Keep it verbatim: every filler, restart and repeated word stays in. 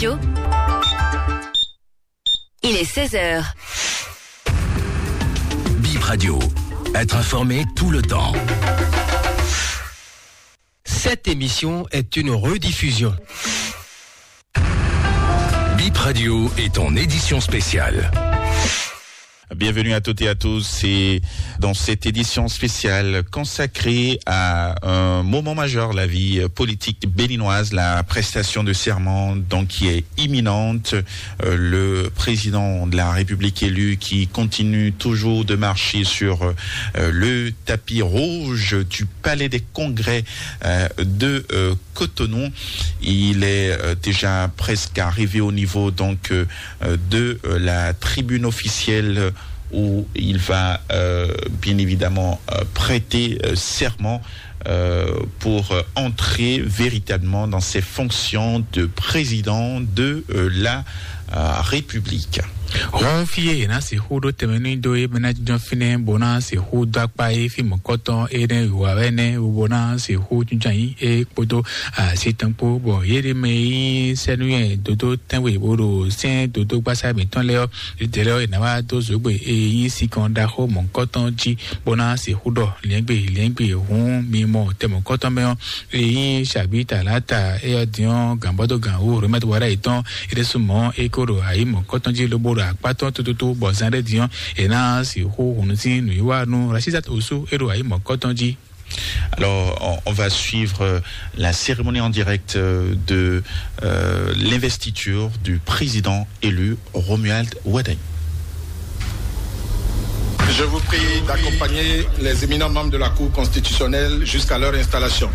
Il est seize heures. Bip Radio, être informé tout le temps. Cette émission est une rediffusion. Bip Radio est en édition spéciale. Bienvenue à toutes et à tous. C'est dans cette édition spéciale consacrée à un moment majeur de la vie politique béninoise, la prestation de serment, donc, qui est imminente. Euh, le président de la République élu qui continue toujours de marcher sur, euh, le tapis rouge du Palais des Congrès, euh, de, euh, Cotonou. Il est, euh, déjà presque arrivé au niveau, donc, euh, euh, de, euh, la tribune officielle où il va, euh, bien évidemment, euh, prêter, euh, serment, euh, pour, euh, entrer véritablement dans ses fonctions de président de, euh, la, euh, République. Hɔn fí e è nǎ sixú ɖó tɛnmɛ nú dó é bɔ é ná jínjɔ́n fínɛ́ bó ná sixú dó akpá é fí mɔ̌kɔtɔn énɛ́ wǐwá wɛ nɛ́ bó ná sixú jínjɔ́n ayǐ é kpódó así tɔn kpó, bɔ yě ɖě mɛ e nyí sɛ́núyɛ dodó tɛ́nwe bó ɖo sɛ́n dodó gbásá mǐtɔn lɛ́ɛ ɔ́, yědɛɛ lɛ́ɛ ɔ́, è nǎ wá dó zǒgbe e nyí sinkɔn ɖaxó mɔ̌kɔtɔn jí bó ná sixú ɖɔ liɛ́ngbè liɛ́ngbè hǔn mi mɔ tɛ mɔ̌kɔtɔn mɛ ɔ́, e nyí Shabita Lata, é ɔ́ din ɔ́, gǎnbɔ́dó gǎn wú Rohmat Wara yětɔn, é ɖésú mɔ̌ é ko ɖo ayǐ mɔ̌kɔtɔn jí lobo ɖo akpá tɔn tututu, bɔ zán ɖé din ɔ́, è nǎ sixú hun nú sín nǔwiwa nú Rashidat Osu, é ɖo ayǐ mɔ̌kɔtɔn jí. Alors, on, on va suivre, euh, la cérémonie en direct, euh, de, euh, l'investiture du président élu Romuald Wadagni. Je vous prie d'accompagner les éminents membres de la Cour constitutionnelle jusqu'à leur installation.